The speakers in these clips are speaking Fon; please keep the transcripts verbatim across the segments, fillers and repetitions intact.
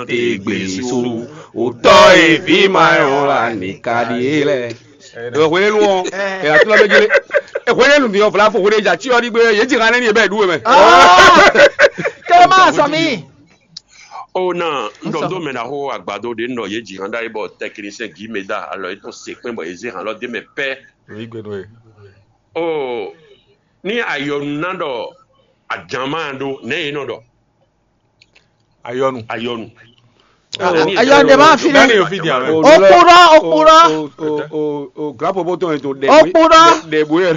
te gbe so. Òtɔ e vi ma yɔn la ni ka ɖi é lɛ. Ewɔ hwenɛnu ɔ, ɛ atúlɔ bɛ jele. Hwenɛnu ni ɔ vlafo hwenɛ ja tsi ɔ ɖi gbe ye dzi han nɛ ni e bɛ ɖu wɛ mɛ. Kɛ ma sɔ mi. O na n ɖɔ do mɛ na xo agbado ɖe n ɖɔ ye dzi han ɖa yi bɔ tɛkinisɛn gi mɛ da alɔ yetɔn se kpɛn bɔ ye ze han lɔ de mɛ pɛ. Oyi gbe nɔ ye. O ni ayɔnu na ɖɔ ajama ɖo nɛ ye nɔ ɖɔ. Ayɔnu. Ayɔnu. Ayɔnu de ma fi Dani ne. Yo fi dia mɛ. Okpɔɖɔ, okpɔɖɔ. O o o o grapo bɔtɔ yẹn to dɛ. Okpɔɖɔ. Dɛ bo yɛ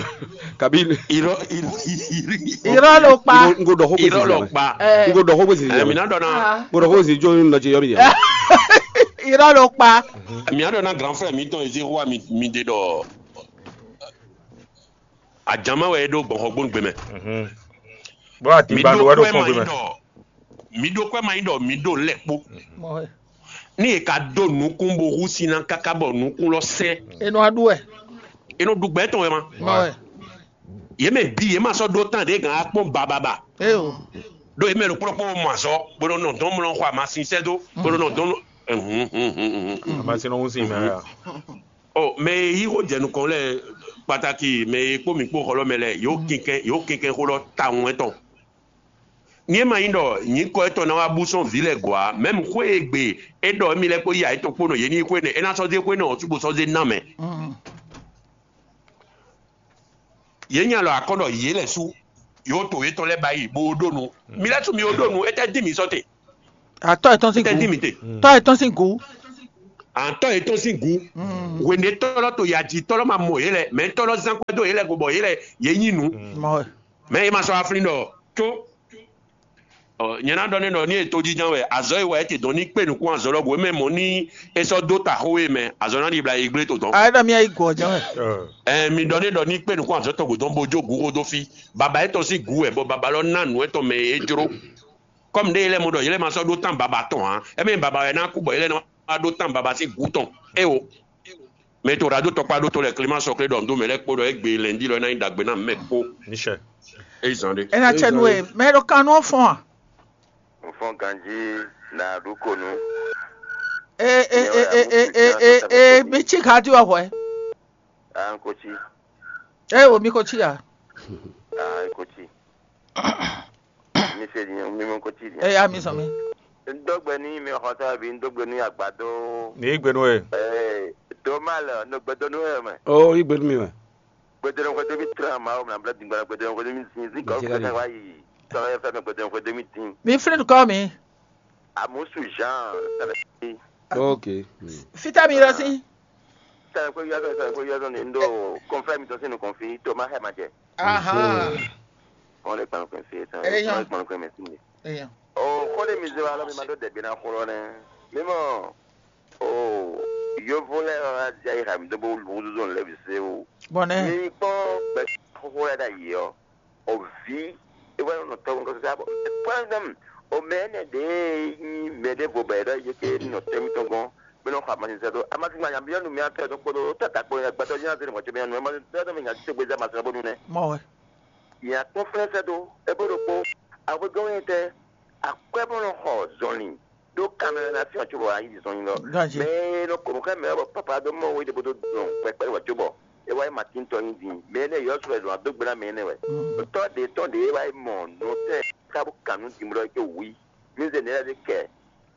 kabi. Irọ́ irọ́ irọ́. Irọ́ ló pa. N ko dɔ xo gbèsè. Irọ́ ló pa. N ko dɔ xo gbèsè. Ɛ mi na dɔ na. N ko dɔ xo gbèsè jɔ n lọ jẹ yọ mi dia. Irọ́ ló pa. Mi na dɔ na grand frère mi tɔn ezi wa mi mi de dɔ. Ajama wɛ e ɖo gbɔn xɔgbónu gbe mɛ. Bó mi atigba ló ɖo wɛ ɖo kpɔ́n gbe mɛ. Mi ɖó kwɛ ma nyí ɖɔ mi ɖó lɛ kpó. Ní è ka dó nukún bó hú sín ná káká bɔ nukún lɔ sɛ́. Enɔ aɖu wɛ. Enɔ ɖu gbɛ tɔn wɛ ma. Mɔ wɛ. Yě mɛ bí yě ma sɔ́ ɖó tán ɖě gǎn á kpɔ́n bababa. Eo. Ɖó yě mɛ ɖo kplɔ́kpɔ́ mɔ azɔ bó nɔ nɔ dɔn mlɔ xɔ amasin sɛ́ dó bó nɔ nɔ dɔn. Amasin nɔ hún sin mɛ ya. Ɔ mɛ e yí xó jɛ nukɔn lɛ kpataki mɛ e kpó mǐ kpó xɔ lɔ mɛ lɛ yǒ kinkɛn yǒ kinkɛn xó lɔ tawun wɛ tɔn. Ní é ma nyí ɖɔ nyǐkɔ étɔn ná wá bú sɔ́n vǐ lɛ́ɛ gɔ̌ ǎ, mɛ̌m xwé e gbe é ɖɔ émí lɛ́ɛ kpó yí ayǐ tɔn kpó nɔ yě ní yí xwé nɛ́, é ná sɔ́ zé xwé nɛ́ ɔ́ cúgbó sɔ́ zé ná mɛ. Yě nya lɔ akɔ́ ɖɔ yě lɛ́ sú yǒ to yětɔn lɛ́ɛ ba yi bó ɖó nu. Mi lɛ́ sú mi ó ɖó nu, étɛ́ dín mi sɔ́ te? Atɔ́ yětɔn sín Étɛ́ dín gǔ. Mi te? Tɔ́ yětɔn sín gǔ. Àtɔ́ yětɔn sín gǔ. Hwěnɛ tɔ́lɔ́ to yě ají tɔ́lɔ́ ma mɔ yě lɛ́ɛ, mɛ tɔ́lɔ́ zán kwɛ́ dó yě lɛ́ɛ go bɔ yě lɛ́ɛ yě nyí nǔ. Mɔ wɛ. Mɛ e ma sɔ́ aflín ɖɔ có. Ɔ, nyɛ ná ɖɔ n'i ɖɔ ní e tójínjɔ́n wɛ azɔ̌ e wa é te dɔn ní kpé nǔkún azɔ̌ lɔ gǔ é mɛ mɔ̌ ní é sɔ́ dó ta xó e mɛ azɔ̌ ná ɖibla yi gblé to dɔn. Ayé ɖɔ mí ayi gɔ̌ jɛ́n wɛ. Ɛ mi ɖɔ ní ɖɔ ní kpé nǔkún azɔ̌ tɔn gǔ dɔn bó jó gǔ xó dó fí. Baba étɔn sín gǔ wɛ bɔ baba lɔ ná nǔ étɔn mɛ e é jló. Kɔmi ɖé yɛ lɛ́ɛ mɔ ɖɔ yɛ lɛ́ɛ ma sɔ́ ɖó tán baba tɔn ǎ. Ɛ mɛ baba wɛ ná kú bɔ yɛ lɛ́ɛ ná wá ɖó tán baba sín gǔ tɔn. É o. Mɛ e to ɖadó tɔkpá ɖó tɔn lɛ Clément Sɔklé ɖɔ nǔ dó mɛ lɛ́ɛ kpó ɖɔ égbé lɛ̌ndí lɔ é ná nyí ɖagbe ná mɛ kpó. Michel. É yi zan ɖé. Ena cɛ nu e mɛ ɖo kan nú fɔn a? N fɔn ganjí na ɖu ko nu. E e e e e e e e mi tsi ka di wɔ hwɛ. Ah, n ko tsi. E wo mi ko tsi a? Ah, n ko tsi. Mi se din, mi mɔ ko tsi din. E ya mi sɔn mi. N dó gbe ní mi xɔsá bí n dó gbe ní agbadó. Ní gbe nú ẹ. Ee, tó má lọ, no gbedo nú ẹ mɛ. Ó yí gbe nú mi mɛ. Gbedo nú xwedó mi tlán ma ó mla blá dìgbà gbedo nú xwedó mi zin zin kọ́ Gbedo nú fẹ́ wá yìí. Tọ́ ẹ fẹ́ mi gbedo nú xwedó mi dín. Mi flin kɔ mi. Àmúṣu Jean sẹlẹ̀ sí. Ok. Fita mi lọ sí. Sẹlẹ̀ pé yọ́dọ̀ sẹlẹ̀ pé yọ́dọ̀ ní ndó kọ́nfẹ́ mi tọ́ sínú kọ́nfí tó má hẹ́ ma jẹ. Ahan. Kɔn lè kpanukun fi tán. Eyan. Kɔn lè kpanukun mɛ sí mi. Eyan. O kɔn lè mi zé wa lɔ mi ma dó dɛbi na kúrò nɛ. Mi mɔ o yovo lɛ ɔ adi ayi ha mi dó bó wúzú lɛ bi se o. Bɔnɛ. Mi kpɔn gbɛ kókó lɛ da yi ɔ. O vi e wɛ nɔ tɔgɔ kɔsɔ sa bɔ. Kpɔn dɛm o mɛ ne de nyi mɛ de vo bɛ dɔ ye ke nɔ tɛmi tɔgɔ. Bɛ nɔ xɔ amasi sɛ do. Amasi ma nya bi yɔ nu mi atɛ do kpodo tata kpo gbɛtɔ nya se ne mɔ tso mi anu. Amasi sɛ do mi nya se gbe za ma sɛ bonu nɛ. Mɔ wɛ. Nya kpɔn flɛ́ sɛ́ dó, é bó ɖokpó, axwé gɔ́n wɛ tɛ́, akwɛ́ bó nɔ xɔ zɔnlin ɖó kanmɛ na fí ɔ́ cóbɔ ayǐ zɔnlin lɔ. Ganjí. Mɛ e nɔ kɔn nǔ xá mɛ ɔ́ bɔ pápá dó mɔ we ɖěbǔ dó dɔn kpɛkpɛ́ wɛ cóbɔ é wá yi Matín tɔn nyi din. Mɛ énɛ́ yɔ́ sɔ́ wɛ zɔn adó gbe ná mɛ énɛ́ wɛ. Tɔ́ ɖě tɔ́ ɖě é wá yi mɔ nǔtɛ́ ká bó kan nǔ din blɔ́ é có wú i. Mí zé nɛ̌ lɛ́ɛ ɖé kɛ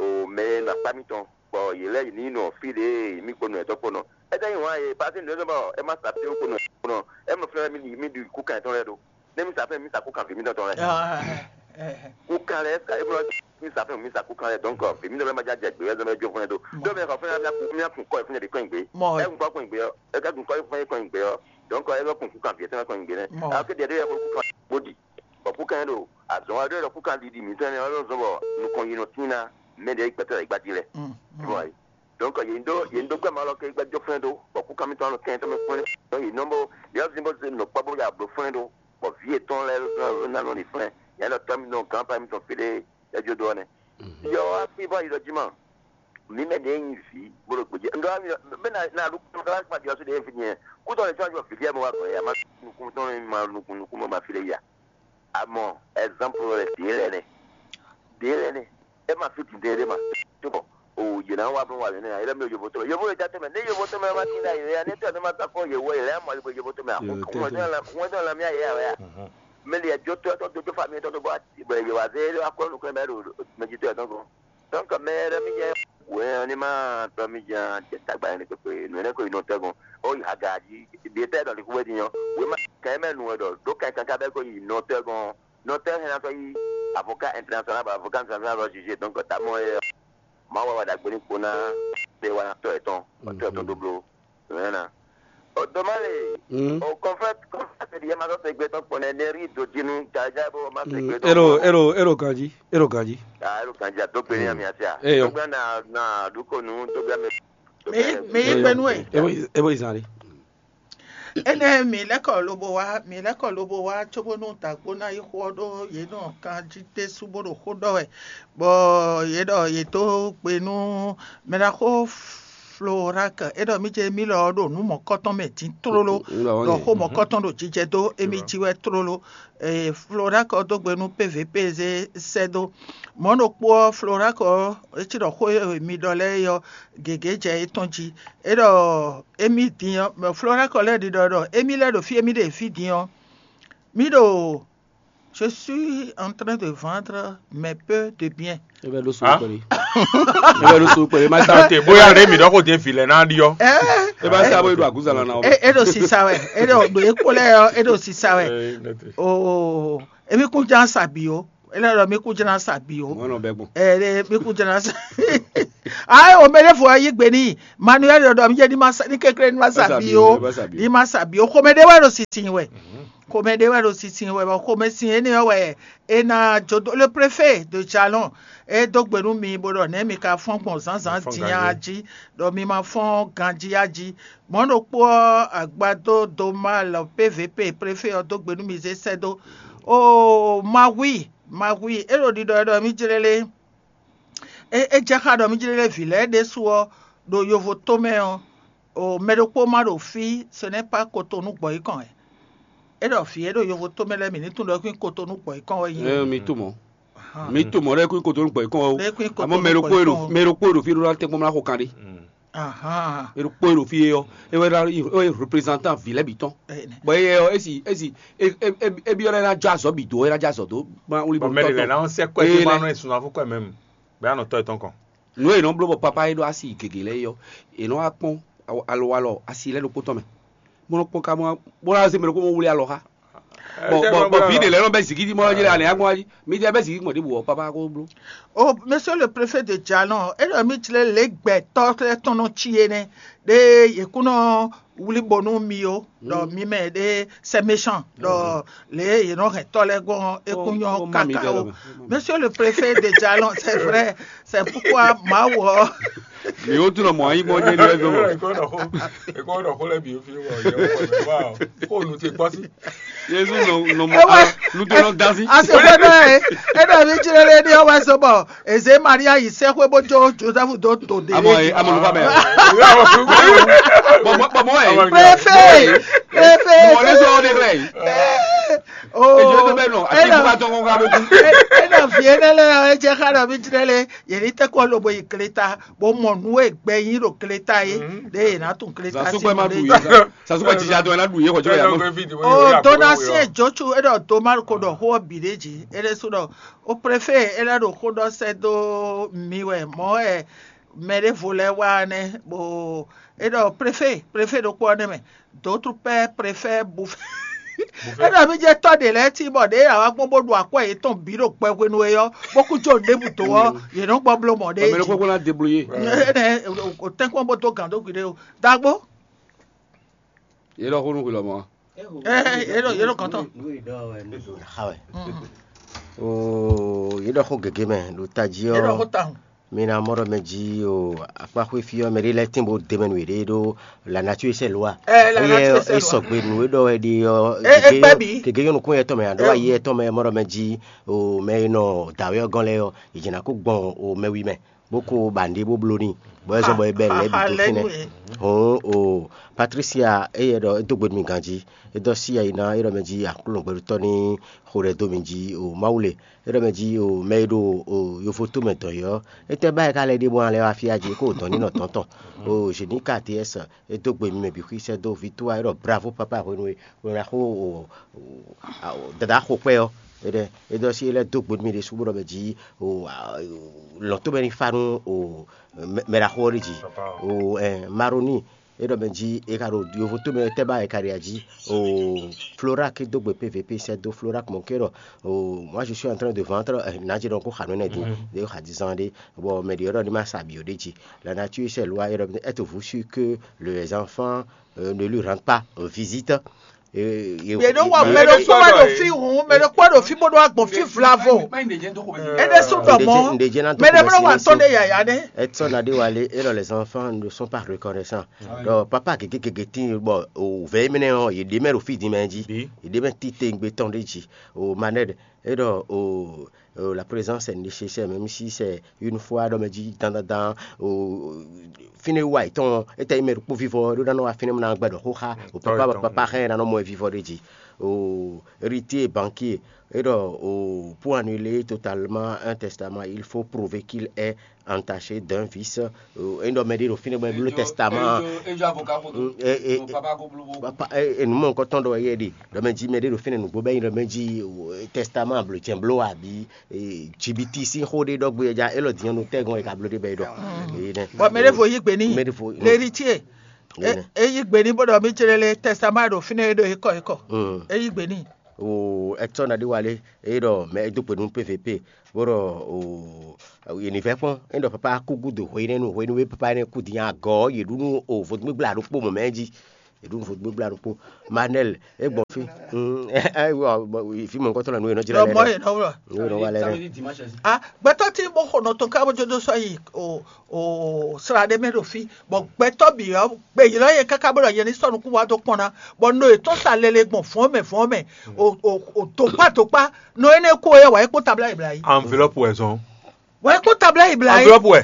o mɛ e nɔ akpá mitɔn, bɔ yě lɛ́ yě ní nɔ fí ɖě mí kpo nɔ ɛtɔ́ kpo nɔ. É ka nyí wǎn e pasí nǔ e zɔ́n bɔ é má sa fí kpo nɔ kpo nɔ, é mɔ flɛ́ mí ɖi mí ɖi kú kan yětɔn lɛ́ɛ ɖó. Nɛ́ mí sa fɛ́n mí sa kú kan vǐ mítɔn tɔn lɛ́ɛ. Kú kan lɛ́ɛ sa é blɔ́ mí sa fɛ́n mí sa kú kan lɛ́ɛ dɔ̌nkɔ vǐ mítɔn lɛ́ɛ ma já jɛ gbě wɛ zɔ́n bɛ jó fún ɛ dó. Dó mɛ xɔ fún ɛ mí kún mí kún kɔ ɛ fún ɛ ɖě kɔn nyi gbě. Ɛ kún kɔ kɔn nyi gbě ɔ́, ɛ ká kún kɔ fún ɛ kɔn nyi gbě ɔ́, dɔ̌nkɔ é lɔ kún kú kan vǐ ɛ tɔn lɛ́ɛ kɔn nyi gbě nɛ́. Ɛ ké ɖiɛ ɖé yɛ kó kú kan bó ɖi. Bɔ kú kan ɖo azɔn wa ɖé ɖɔ kú kan ɖiɖi mǐtɔn nɛ́ ɔ́ zɔn bɔ nukɔn yi nɔ tín ná mɛ ɖě gbɛtɔ́ lɛ́ɛ gbadí lɛ́ɛ. Bɔ ayi. Donc yě ɖó yě ɖó gbɛmɛ lɔ ké gbɛjɔ fún ɖó bɔ kú kan mítɔn nɔ kɛn tɔn mɛ fún ɖó yě nɔ bó yě ɔ́ zin bó zé nɔ kpɔ bó ya bló fún ɖó bɔ vǐ yětɔn lɛ́ɛ ná nɔ ɖi flɛ́n yě lɔ tɔ́ mítɔn gǎn pa mítɔn fí ɖé yɛ jó dó ɔ́ nɛ́. Yɔ wá fí bɔ yi ɖɔ jí ma mǐ mɛ ɖě nyi vǐ bó ɖo gbèjì ŋɖɔ mi bɛ na na ɖo kpɔ́n kpɔ́n kpɔ́n ɖě fi nyɛ kútɔ lè tɔ́jú vǐ ɖé mɔ wá gɔ̌ yá má nukún tɔn ma nukún nukún mɔ ma fi lè yá. Amɔ ɛzanpu lɛ ɖě lɛ nɛ ɖě lɛ nɛ ɛ ma fi dundun ɖé ma. Nǎ wá bló wà lě nɛ́ ǎ, é lɛ́ mlɔ́ yovo tɔn mɛ. Yovo e ja tɔn mɛ, nɛ́ yovo tɔn mɛ wá tín ɖ'ayǐ wɛ ǎ, nɛ́ tɔ́ ɛ nɔ ma tɔ́ kpɔ́n yě wɛ, yě lɛ́ mɔ yě bɔ yovo tɔn mɛ ǎ. Xú xú wɛn dɔn lamí ayǐ ǎ wɛ a? Mɛ li ɛ jó tɔ́ ɛ tɔn dó jó fami tɔn dó bɔ yě wá zé akɔ́ nukɔn mɛ ɖo mɛ jí tɔ́ ɛ tɔn gɔ́n. Donc mɛ ɖé mi jɛ wɛ ɔ́ ní ma tɔ́ mi jɛ jɛ tagba ɛnɛ kpekpe nǔ ɛnɛ ko yi nɔ tɔ́ gɔ́n. Ó yi aga jí, bi étɛ́ ɖɔ li xú wɛ din ɔ́, wěma kɛn mɛ nǔ wɛ ɖɔ ɖó kɛn kankan bɛ́ ko yi nɔ tɔ́ gɔ́n. Nɔ tɔ́ hɛn ná tɔ́ yí avocat international bɔ avocat international bɔ juge, donc tamɔ é Mawu wɛ wá ɖagbe ní kpo ná ɖe wanatɔ́ yětɔn, watɔ́ yětɔn dó bló nǔnywɛ́ ná. O dó má le, o kɔnfɛ́t kɔnfɛ́t ɖi yɛ ma sɔ́ segbe tɔn kpɔ́n nɛ́, nɛ́ rí dǒ jí nú jaja bó má segbe tɔn. Éɖo éɖo éɖo ganjí, éɖo ganjí. Ah, éɖo ganjí a dó gbe ní ami asi a? Eyɔ. Dó gbe na na ɖu ko nú dó gbe ami. Mi yi mi yi gbe nú ɛ. Ebo ebo izan ɖe. Énɛ́ mi lɛ́ kɔ lobo wá, mi lɛ́ kɔ lobo wá cóbónú dǎgbó ná yi xó ɔ́ ɖó yě nɔ kan jí ɖésú bó ɖo xó ɖɔ wɛ, bɔ yě ɖɔ yě dó gbe nú mɛɖaxó Florak, é ɖɔ mí ce mí lɔ ɔ́ ɖo nǔ mɔ̌kɔtɔn mɛ din tlóló, ɖɔ xó mɔ̌kɔtɔn ɖo jijɛ dó émí jí wɛ tlóló. Florak ɔ́ dó gbe nú P V P zé sɛ́ dó. Mɔ̌ ɖokpó ɔ́, Florak ɔ́, é cí ɖɔ xó e mi ɖɔ lɛ́ɛ é ɔ́, gěgé jɛ é tɔn jí. É ɖɔ émí din ɔ́, Florak ɔ́ lɛ́ ɖiɖɔ ɖɔ émí lɛ́ ɖo fí émí ɖe fí din ɔ́, mí ɖo je suis en train de vendre mes peu de bien. E bɛ ɖo so kpɛɖe. E bɛ ɖo so kpɛɖe. Ma sa te bóyá ɖe mi ɖɔ ko jɛ vi lɛ na ɖi ɔ. E ba sa bo ɖo aguzala na o. E ɖo sisa wɛ, e ɖo ɖo ekpo lɛ ɔ, e ɖo sisa wɛ. Oo, emi kun jan sa bi o. E lɛ ɖɔ mi kun jan sa bi o. Mɔnɔ bɛ gbɔn. Ɛ mi kun jan sa. Ayi o mɛ ɖe fo yi gbe ni Manuel ɖɔ mi jɛ ni ma sa ni kekle ni ma sa bi o. Ni ma sa bi o. Xomɛ ɖe wɛ ɖo sisin wɛ. Xomɛ ɖé wɛ ɖo sinsin wɛ bɔ xomɛsin énɛ́ ɔ́ wɛ è nǎ jó dó le préfet de Jalɔn. É dó gbe nú mi bó ɖɔ nɛ̌ mi ka fɔ́n gbɔn zǎnzǎn din a jí, ɖɔ mi ma fɔ́n ganjí a jí. Mɔ̌ ɖokpó ɔ́, agbadó Domal P V P préfet ɔ́ dó gbe nú mi zé sɛ́ dó. Oo, Mawi, Mawi, é ɖo ɖiɖɔ wɛ ɖɔ mí jlé lé. É é jɛ xá ɖɔ mí jlé lé vǐ lɛ́ɛ ɖésú ɔ́ ɖo yovo tó mɛ ɔ́, o mɛ ɖokpó ma ɖo fí, ce n'est pas Cotonou gbɔ̌ yí kɔn wɛ. É ɖɔ vǐ e ɖo yovo tó mɛ lɛ́ɛ mǐ ní tunwun ɖɔ é kún nyí Cotonou gbɔ̌ yí kɔn wɛ nyí. Ɛ mi tunwun. Mi tunwun ɖɔ é kún nyí Cotonou gbɔ̌ yí kɔn wɛ o. Ɖɔ é kún nyí Cotonou gbɔ̌ yí kɔn wɛ. Amɔ mɛ ɖokpó e ɖo mɛ ɖokpó e ɖo fí ɖó ná tɛ́nkpɔ́n mlá xo kan ɖé. Ahán. E ɖokpó e ɖo fí é ɔ́, é wɛ ná é wɛ représentant vǐ lɛ́ɛ bǐ tɔn. Ɛ, nɛ. Bɔ é ɔ́, é si é si é é é é byɔ́ lɛ́ɛ ná jɔ azɔ̌ bǐ dó, é ná jɔ azɔ̌ dó. Bɔ mɛ ɖě lɛ́ɛ ná sɛ́ kwɛ́ Ee, dó lɛ. Má nɔ sunafú kwɛ́ mɛ mu, bɛ anɔ tɔ́ yětɔn kɔn. Nǔ e è nɔ bló bɔ papá e ɖó asi gěgé lɛ́ɛ é ɔ́, è nɔ wá kpɔ́n alowalɔ asi lɛ́ɛ ɖokpó tɔn mɛ, bó nɔ kpɔ́n ka bó ná zé mɛ ɖokpó bó wlí alɔ xá. Bɔ bɔ bɔ vǐ ɖě lɛ́ɛ nɔ bɛ́ zǐngídi mɔ ɔ́ jí lɛ alɛ agbɔn jí, mi jɛ bɛ́ zǐngídi gbɔn ɖěbǔ ɔ́, papá ko bló. O Monsieur le Préfet de Jalon, é ɖɔ mí jlé lě gbɛtɔ́ lɛ́ɛ tɔn nɔ cí é nɛ́, ɖé yě kún nɔ wlí bo nú mi ó, ɖɔ mi mɛ ɖé c'est méchant, ɖɔ lě e yě nɔ hɛn tɔ́ lɛ́ɛ gɔ́n ɔ́, é kún nyɔ́ káká ó. Monsieur le Préfet de Jalon, c'est vrai, c'est pourquoi Mawu ɔ́. Mi wo tunɔ mɔ ayi mɔ jɛ ni wɛ zɔn. Ekɔ ɖɔ xó, ekɔ ɖɔ xó lɛ bi fi wɔ yɛ wɔ wɔ xó nu te kpɔsi. Yesu nɔ nɔ mɔ Ewa. Nutɔ nɔ dasi. Ase fue nɔ ye, e ɖɔ mi jlɛ le ɖi ɔwɛ so bɔ eze Maria yi sɛ xwe bo jo Joseph do to de. Amɔ ye amɔ nufa bɛ. Bɔbɔ bɔbɔ ye. Préfet, préfet. Mɔ ne sɔ ɔde klɛ yi. Ejo to bɛ nɔ ati kuka tɔn kɔn ka bo kun. E ɖɔ vie ne lɛ ɔ e jɛ xa ɖɔ mi jlɛ le yeli tɛ kɔ lobo yi kleta bo mɔ nu e gbɛ yi ɖo kleta ye ɖe yena tun kleta si mɔ ɖe. Sasukpɛ jija dɔn ɛ na ɖu ye xɔ jɔ ya nɔ. O dona si e jotu e ɖɔ do ma ko ɖɔ xó ɔ bi ɖe dzi e ɖe su ɖɔ o préfet e lɛ ɖo xó ɖɔ sɛ do mi wɛ mɔ ɛ mɛ ɖe vo lɛ wa nɛ bo e ɖɔ préfet préfet ɖokpɔ nɛ mɛ d'autres pères préfèrent bouffer. E ɖɔ mi jɛ tɔ ɖe lɛ ti bɔ ɖe awa gbɔn bo ɖu akwɛ yetɔn bi ɖo gbɛ hwenu e yɔ bó kú jo ɖebu do ɔ yě nɔ gbɔ bló mɔ ɖe. Mɛ ɖokpɔ na débrouiller. Ɛnɛ o tɛnkpɔn bo do gàn dó gwi ɖe o dagbo. Yé ɖɔ xó nú hwi lɔmɔ̌. Ɛ yé ɖɔ yé ɖɔ kɔntɔn. Xa wɛ. Oo, yé ɖɔ xó gěgé mɛ ɖo tají ɔ́. Yé ɖɔ xó tawun. Mi ná mɔ ɖɔ mɛ jí o akpáxwé fí ɔ́ mɛ ɖé lɛ́ɛ tín bó de mɛ nú yěɖée ɖó la nature c'est loi. Ɛ la nature c'est loi. Sɔgbe nǔ e ɖɔ wɛ ɖi ɔ́. Ɛ ɛ gbɛ bǐ. Gěgé yɔn nukún yɛ tɔn mɛ ado ayi yɛ tɔn mɛ mɔ ɖɔ mɛ jí o mɛ e nɔ dǎwé ɔ́ gɔ́n lɛ́ɛ ɔ́, yě jɛ ná kó gbɔn o mɛ wi mɛ. Bó kó ba nǔɖé bó bló n'i, bɔ é zɔ́n bɔ é bɛ́ lɛ̌ bǐ dó fínɛ́. Hǔn o Patricia éyɛ́ ɖɔ é dó gbe nú mi ganjí, é dɔ́ sí ayi ná é ɖɔ mɛ jí Aklúnɔ gbɛɖutɔ́ ní xo ɖɛ dó mi jí o Mawu le. É ɖɔ mɛ jí o mɛ e ɖo o yovoto mɛ dɔn yi ɔ́, étɛ́ ba e ka lɛ́ ɖe bɔ alɛ wá fí ají kó dɔn ní nɔ tɔn tɔn. O Zeni K T S e dó gbe mi mɛ bǐ xwí sɛ́ dó Victoire, é ɖɔ bravo papa hwenu e hwenu e xó o dada xo kpɛ ɔ́. É ɖɔ é ɖɔ sí é lɛ́ dó gbe nú mi ɖésú bó ɖɔ mɛ jí o lɔ̌n tó mɛ ní fa nú o mɛ ɖaxó ɔ́ ɖi jí. O Maroni, é ɖɔ mɛ jí é ka ɖo yovo tó mɛ tɛ́ ba é ka ɖi ají. O Florak dó gbe P V P sɛ́ dó Florak mɔ ké ɖɔ o moi je suis en train de vendre, nǎ jí ɖɔ kó xa nǔ énɛ́ dín ɖé xa dín zán ɖé. Bɔ mɛ ɖě ɔ́ ɖɔ ní ma sa bǐ ó ɖé jí. La nature c'est loi, é ɖɔ êtes-vous sûr que les enfants euh, ne lui rendent pas euh, visite? Yě ɖo wa mɛ ɖokpó wɛ ɖo fí hǔn, mɛ ɖokpó wɛ ɖo fí bó ɖo agbɔn fí vlavo. É ɖésú ɖɔ mɔ mɛ ɖé mlɔ wa tɔn ɖe yaya nɛ. Edson Adéwalé, et les enfants ne sont pas reconnaissants. Donc papa gégé gégé tí bɔ o vɛ mɛnɛ ɔ yě ɖe mɛ ɖo fí din mɛ jí, yě ɖe mɛ títengbe tɔn ɖe jí. O Manel, et o la présence est nécessaire, même si c'est une fois ɖɔ mɛ jí dandandan. Fínɛ́ wa yětɔn, étɛ́ nyí mɛ ɖokpó vívɔ ɖó ná nɔ wá fínɛ́ mɔ ná gbɛ ɖɔ xó xá o papa bɔ papa xá ɛ ná nɔ mɔ ɛ vívɔ ɖé jí. O héritier banquier, é ɖɔ o pour annuler totalement un testament, il faut prouver qu'il est entaché d'un vice. É ɖɔ mɛ ɖé ɖo fínɛ́ bɔ é bló testament. Papa, nǔ mɔ̌hunkɔtɔn ɖɔ wɛ yɛ ɖe ɖɔ mɛ jí mɛ ɖé ɖo fínɛ́ nǔgbó bɔ é nyí ɖɔ mɛ jí testament bló jɛn bló abi jibiti sín xó ɖé ɖɔ gbé ja élɔ́ din ɔ́ nú tɛ́gɔn e ka bló ɖé bɔ é ɖɔ. Bɔ mɛ ɖé vo yí gbe n'i. Mɛ ɖé vo. L'héritier. É yí gbe n'i bó ɖɔ mí jlé lé testament ɖo fínɛ́ é ɖo é kɔ é kɔ. É yí gbe n'i. O Hector Nadéwalé, é ɖɔ mɛ é dó gbe nú P V P bó ɖɔ o yě ní vɛ́ kpɔ́n. É ɖɔ papa kú gúdo hwenu hwenu e papa énɛ́ kú din agɔ̌ yě ɖu nú o vodúngbígbla ɖokpó mɔ̌ mɛ jí. Yě ɖu nú vodúngbígbla ɖokpó. Manel, é gbɔn fí. Fí mɔ̌hunkɔtɔn lɔ nú yě nɔ jlɛ́ lɛ́ɛ. Mɔ yě nɔ wlɔ. Yě nɔ wa lɛ́ɛ. Ah, gbɛtɔ́ tí bó xo nɔ tɔn ká bó jó dó sɔ́ yi o o sra ɖé mɛ ɖo fí, bɔ gbɛtɔ́ bǐ ɔ́ gbe ylɔ́ yɛ káká bó ɖɔ yɛ ní sɔ́ nukún wá dó kpɔ́n ná, bɔ no yětɔn sa lɛlɛ gbɔn vɔ̌n mɛ vɔ̌n mɛ, o o o tokpá tokpá, no énɛ́ kú ɔ́ yɛ wǎ é kpó tabla yi bla yi. Enveloppe wɛ zɔn. Wǎ é kpó tabla yi bla yi. Enveloppe wɛ.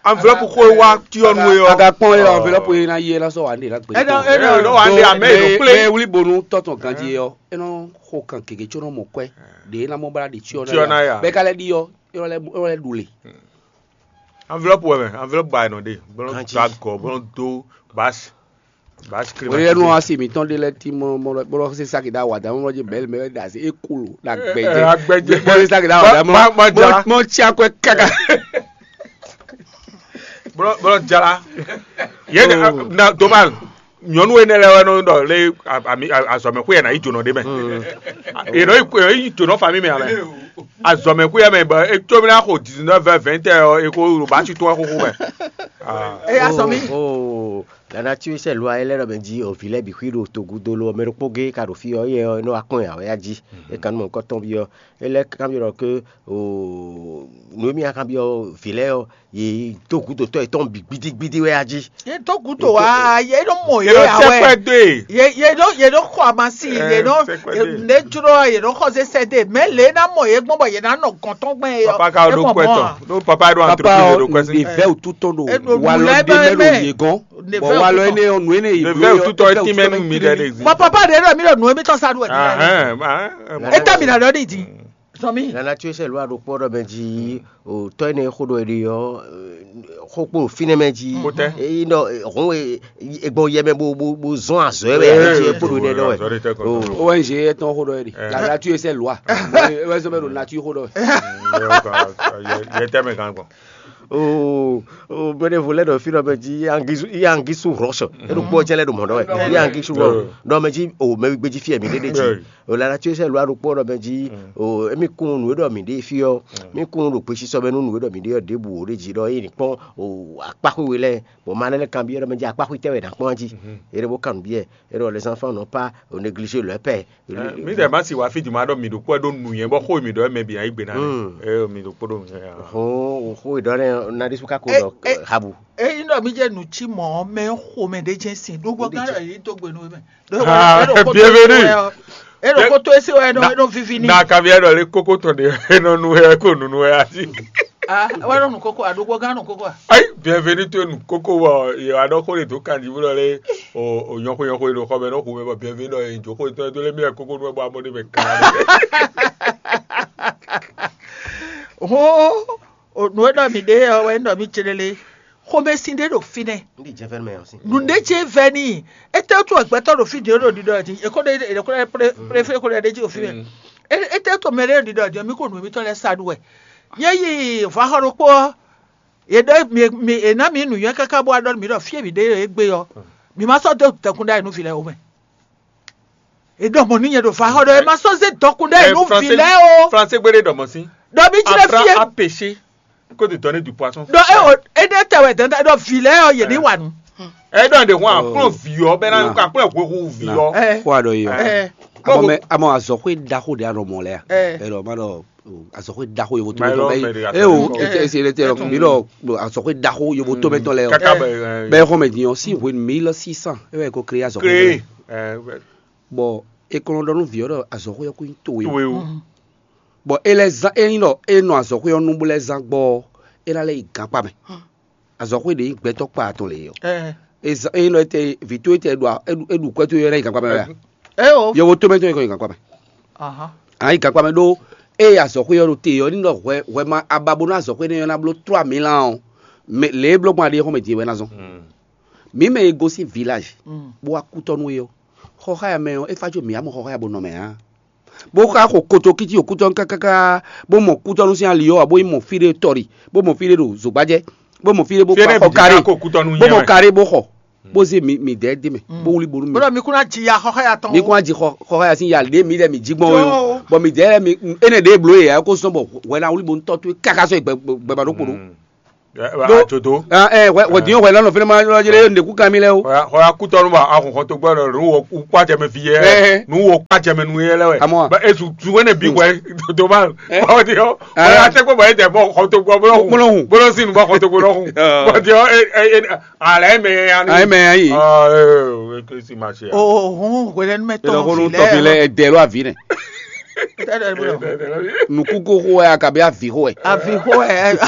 Enveloppe xó e wá tyɔ nú é ɔ́. A ka kpɔn é ɔ́, enveloppe e ná yi é ná sɔ́ wǎ ɖe ná gbé. Ɛ nɔ ɛ nɔ ɖɔ wǎ ɖe amɛ ɖo kplé. Mɛ wuli bonu tɔtɔ ganji é ɔ́, é nɔ xo kan gěgé có nɔ mɔ kwɛ ɖě é ná mɔ bá ɖi tyɔ ná ya. Bɛ́ ka lɛ́ ɖi ɔ́, é nɔ lɛ́ é nɔ lɛ́ ɖu le. Enveloppe wɛ mɛ, enveloppe ba nɔ ɖe, bɔlɔ do agɔ, bɔlɔ do basi, basi kiri. Oyɛ nu asi mitɔn ɖe lɛ ti mɔ mɔ bɔlɔ se saki da wa da mɔ dzi bɛl mɛ da se ekulu da gbɛdze. Agbɛdze. Bɔlɔ se saki da wa da mɔ mɔ tsi akwɛ kaka. Bɔlɔ bɔlɔ jala. Ye na dommage. Nyɔnu énɛ́ lɛ́ɛ wɛ nɔ ɖɔ lé azɔ̌mɛxwé yɛ ná yi jǒnɔ ɖé mɛ. È nɔ yi jǒnɔ fami mɛ amɛ. Azɔ̌mɛxwé yɛ mɛ bɔ é có mɛ ná xo dix-neuf heures vingt heures ɔ́, é ko ɖo bá ci tɔn xóxó mɛ. Eya sɔ mí. La nature sɛ lwa é lɛ́ ɖɔ mɛ jí o vǐ lɛ́ɛ bǐ xwí ɖo togudo lo ɔ́, mɛ ɖokpó gé ka ɖo fí ɔ́, éyɛ́ ɔ́ é nɔ wá kpɔ́n ɛ ǎ wɛ yá jí. É ka nú mɔ̌hunkɔtɔn byɔ́, é lɛ́ kanbyɔ́ ɖɔ ké Nǔ e mì nɔ kanbyɔ́ vǐ lɛ́ɛ ɔ́, yě dó gǔdo tɔ́ yětɔn bǐ gbídígbídí wɛ a jí. Yě dó gǔdo wá, yě nɔ mɔ yě ǎ wɛ. Sɛkpɛ dó e. Yě yě nɔ yě nɔ xɔ amasi, yé nɔ Sɛkpɛ dó e. Ne jló yě nɔ xɔ zé sɛ dé, mɛ lě ná mɔ yě gbɔn bɔ yě ná nɔ gɔn tɔn gbɛn yɔ. Papa ka ɖo kɔɛ tɔn. Ɖó papa ɖo papa entreprise ɖo kɔɛ sí. Ne vɛ wututɔ ɖo walɔ ɖe mɛ ɖo yě gɔn. Bɔn walɔ énɛ́ ɔ́, nǔ énɛ́ yě Ne vɛ wututɔ é tín mɛ nú mi ɖɛ ɖe zi. Bɔn papa ɖe ɖɔ mí ɖɔ nǔ émítɔn sa ɖu wɛ. Ahɛn, ahɛn. Étɛ́ mi ná ɖɔ n'i din? Sɔmi. Nana tso sɛ lua ɖo kpɔ ɖɔ mɛ jí o tɔ ene xo ɖɔ eɖi ɔ xo kpo finɛ mɛ jí. Kotɛ. Eyi nɔ hɔn e egbɔ yɛ mɛ bo bo bo zɔn azɔ yɛ bɛ ɛ jí kpo ɖo nɛ dɔ wɛ. O O N G etɔn xo ɖɔ eɖi. La nature sɛ lua. Wɛ sɔ bɛ ɖo nature xo ɖɔ wɛ. Yɛ tɛ mɛ kan gbɔn. O o bɛnɛ vo lɛ ɖɔ fi ɖɔ mɛ jí yangisu yangisu rɔsɔ. Eɖo kpɔ jɛ lɛ ɖo mɔ ɖɔ wɛ yangisu rɔ ɖɔ mɛ jí o mɛ gbedzi fi yɛ mi ɖe ɖe jí. O la nature sɛ lua ɖo kpɔ ɖɔ mɛ jí o emi kun nu ɖɔ mi ɖe fi ɔ mi kun ɖo gbesisɔ mɛ nu nu ɖɔ mi ɖe ɔ ɖebu o ɖe jí ɖɔ eyi ni kpɔn o akpaxwe we lɛ bɔn ma lɛ kan biɛ ɖɔ mɛ jí akpaxwe tɛ wɛ na kpɔn jí. Eɖe bo kan biɛ eɖɔ les enfants n'ont pas o négliger leur père. Mi dɛ ma si wa fi di ma ɖɔ mi ɖo kpɔ ɖo nu yɛn bɔ xo mi ɖɔ mɛ bi na yi gbe na mi. E mi ɖo kpɔ ɖo nu yɛn. Hɔn o xo ɖɔ ne na ɖi su kako ɖɔ habu. Eyi nɔ mi jɛ nu ci mɔ mɛ xo mɛ ɖe jɛ sin ɖo gbɔ kan ɖɔ yi to gbe nu mɛ. Bienvenue. E ɖo koto esi wɛ nɔ e nɔ vivi ni. Na kavi ɛdɔ le koko tɔ de e nɔ nu ɛ ko nunu ɛ asi. Ah, wɛ nɔ nu koko a ɖo gbɔ gan nu koko a. Ayi, bienvenue to nu koko wɔ ye wa ɖɔ ko le do kan di wulɔ le o o nyɔko nyɔko le do xɔ mɛ nɔ xu mɛ bɔ bienvenue dɔ ye jo ko to do le mi ɛ koko nu ɛ bɔ amɔ de mɛ kan. Hɔn, nǔ e ɖɔ mǐ ɖe ɔ́ wɛ ɖɔ mǐ ce lélé. Xomɛsin ɖé ɖo fínɛ́. Nǔɖé ce vɛ n'i. Étɛ́ wútu wɛ gbɛtɔ́ ɖo fí din ɖo ɖiɖɔ din? È ko ɖe è ko ɖe préfé ko ɖe ɖ'é jí ɖo fí mɛ. Étɛ́ wútu mɛ ɖé ɖo ɖiɖɔ din? Mǐ ko nǔ mitɔn lɛ́ɛ sa ɖu wɛ. Nyɛ yi vɔ̌xɔ ɖokpó ɔ́, è ɖɔ mǐ mǐ è ná mǐ nǔnywɛ́ káká bó wá ɖɔ nú mǐ ɖɔ fí e mǐ ɖe é gbe ɔ́, mǐ ma sɔ́ dó dɔkun ɖ'ayǐ nú vǐ lɛ́ɛ ó mɛ. È ɖɔ mɔ̌ nú nyɛ ɖo vǎxɔ ɖɔ è ma sɔ́ zé dɔkun ɖ'ayǐ nú vǐ lɛ́ɛ ó. Fransé gbé ɖé ɖɔ mɔ̌ sín. Ɖɔ mí jí lɛ́ fí é. A péché que de donner du poisson. Ɖɔ é o énɛ́ tɛ wɛ dɛndɛ ɖɔ vǐ lɛ́ɛ ɔ́ yě ní wa nǔ. Ɛ ɖɔ ɖe hɔn akplɔ vǐ ɔ́ bɛ na akplɔ hwehwu vǐ ɔ́. Xó aɖɔ yi ɔ. Ɛ. Amɔ mɛ amɔ azɔxwé ɖaxó ɖe anɔ mɔ lɛ a? Ɛ. Ɛ ɖɔ ma ɖɔ azɔxwé ɖaxó yovo tó mɛ tɔn lɛ. Ɛ o ete ese lɛ tɛ lɔ mi lɔ azɔxwé ɖaxó yovo tó mɛ tɔn lɛ ɔ. Kaka bɛ. Bɛ xɔmɛ din ɔ sí hwenu mille six cents é wɛ ko créé azɔxwé. Créé. Ɛ. Bɔ è ko nɔ ɖɔ nú vǐ ɔ́ ɖɔ azɔ̌xwé ɔ́ kún nyí towe ó. Towe ó. Bɔ é lɛ́ zán é nyí ɖɔ é nɔ azɔ̌xwé ɔ́ nu bó lɛ́ zán gbɔ ɔ́, é ná lɛ́ yi gankpá mɛ. Azɔ̌xwé ɖě nyí gbɛtɔ́ kpa atɔn lě é ɔ́. É zán é nyí ɖɔ étɛ́ vǐ towe tɛ ɖo é ɖu kwɛ́ towe ɔ́ ná yi gankpá mɛ wɛ a? Yovo tómɛ tɔn yi kɔ nyi gankpá mɛ. A nǎ yi gankpá mɛ ɖó ée azɔ̌xwé ɔ́ ɖo te ɔ́ ní ɖɔ hwɛ hwɛ ma aba bónú azɔ̌xwé énɛ́ ɔ́ ná bló tlú amǐ lan ɔ́, lě e bló gbɔn aɖé xɔ́mɛ din wɛ ná zɔ́n. Mǐ mɛ e gosín vilaj bó wá kútɔ́ nú é ɔ́, xɔxáya mɛ ɔ́ é fá có mǐ wá mɔ xɔxáya bó nɔ mɛ ǎ. Bó xá xo kotokíti ɖo kútɔ́nú kákáká, bó mɔ kútɔ́nú sín ali ɔ́ ǎ, bó yi mɔ fí ɖé tɔ́ɖi, bó mɔ fí ɖé ɖo zǒgbájɛ, bó mɔ fí ɖé bó xɔ karé, bó mɔ karé bó xɔ, bó zé mǐ mǐdɛɛ d'é mɛ, bó wlí bónú mǐ. Bó ɖɔ mi kún ná ji ya xɔxɔ́ya tɔn. Mi kún ná ji xɔxɔ́ya sín ya ɖě mǐdɛɛ mǐ jí gbɔn é ó, bɔ mǐdɛɛ lɛ́ɛ mi énɛ́ ɖě blǒ yě ǎ é kó zɔ́n bɔ hwɛ ná wlí bónú tɔ́ towe káká sɔ́ yi gbɛgbɛba ɖokpó ɖó. Ɛ, Ɖó- ajodo. Ah, ɛ, hwɛ hwɛ din hwɛ lɔnà fɛnɛ ma lɔ jɛ lɛ ndeku kan mi lɛ o. Hɔya hɔya kutɔnu ba ahun xɔtɔgbɔ lɔ nu wo kpa jɛmɛ fi yɛ. Ɛhɛ. Nu wo kpa jɛmɛ nu yɛ lɛ wɛ. Amɔ. Ba ezu zu wɛnɛ bi hwɛ dodo ma. Ɛ. Ba ɔdi yɔ. Ah. Hɔya tɛ kpɔ ba etɛ bɔ xɔtɔgbɔ bolo hun. Bolo hun. Bolo sin bɔ xɔtɔgbɔ lɔ hun. Ah. Ba ɔdi yɔ e e e alɛ mɛ ya ni. Alɛ mɛ ya yi. Ah, e e e si ma se ya. O hun hwɛlɛnu mɛ Tɔnɔ tɔn kó nu fi tɔfi lɛ. Lɛ ɛdɛ lɔ avi nɛ. Nukúkó xó wɛ akabi avi xó wɛ. Avi xó wɛ.